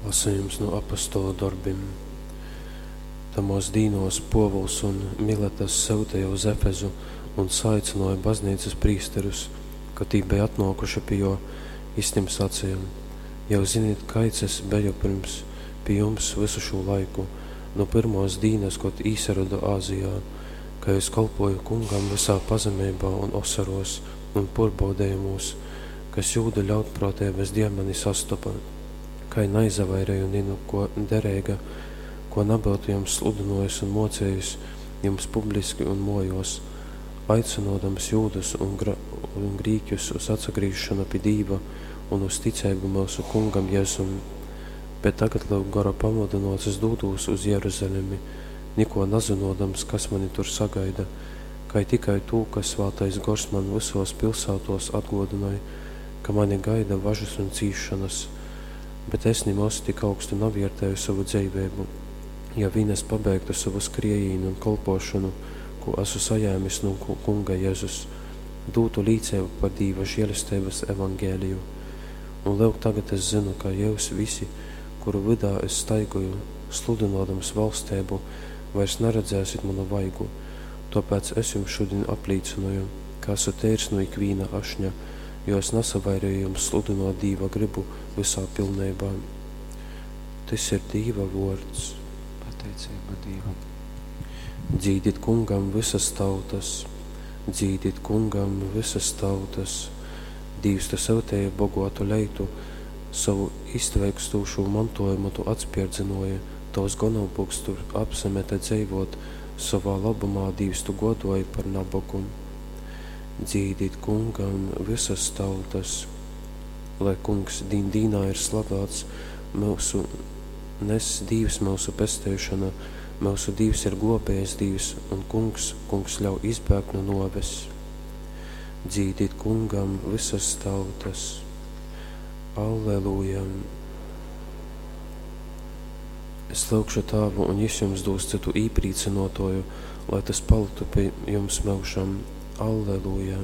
Lasejums nu Apostolu dorbim. Tamōs dīnōs Pōvuls un Miletas syuteja uz Efezu un saaicynōja bazneicas prīsterus. Kad tī beja atnōkuši pi jō, jys tim saceja, Jyus zinit, kaids es beju pyrms pi jums vysu šū laiku, nu pyrmōs dīnas, kod īsarodu Azijā, kai es kolpōju Kungam vysā pazemeibā un osorōs, un pōrbaudejumūs, kas jūdu ļaunprōteibas deļ mani sastopa, kai naizavaireju ni nu kō dereiga, kō nabyutu jums sludynōjis un mōcejis jums publiski un mōjōs, aicynōdams jūdus un grīķus uz atsagrīzšonu pi Dīva un uz ticeibu myusu Kungam Jezum. Bet tagad, lyuk, Gora pamudynōts es dūdūs uz Jeruzalemi, nikō nazynōdams, kas mani tur sagaida, kai tikai tū, ka Svātais Gors man vysōs pilsātōs atgōdynoj, ka mani gaida važas un cīsšonas. Bet es nimoz tik augstu navērteju sovu dzeiveibu, ja vīn es pabeigtu sovu skriejīni un kolpōšonu, kū asu sajēmis nu Kunga Jezus, dūtu līceibu par Dīva želesteibas evangeliju. Un lyuk, tagad es zynu, ka jyus visi, kuru vydā es staigoju, sludynōdams valsteibu, vairs naredzēsit munu vaigu. Tōpēc es jums šudin aplīcynoju, ka asu teirs nu ikvīna ašņa, jo es nasavaireju jums sludynōt Dīva grybu vysā pilneibā. Tys ir Dīva vōrds. Pateiceiba Dīvam. Dzīdit Kungam vysas tautas, dzīdit Kungam vysas tautas. Dīvs, tu syuteji boguotu leitu, sovu iztveikstūšū montuojumu tu atspierdzynōji, tovs gonompulks tur apsamete dzeivōt, sovā lobumā, Dīvs, tu gōdōji par nabogu. Dzīdit Kungam vysas tautas, lai Kungs dīn dīnā ir slavāts, myusu nes Dīvs myusu pesteišona, myusu Dīvs ir glōbējas Dīvs, un Kungs, Kungs ļauj izbēgt nu nōves. Dzīdit Kungam vysas tautas. Alleluja! Es lyugšu Tāvu, un Jys jums dūs cytu īprīcynōtōju, lai tys palyktu pi jums myužam. Alleluja!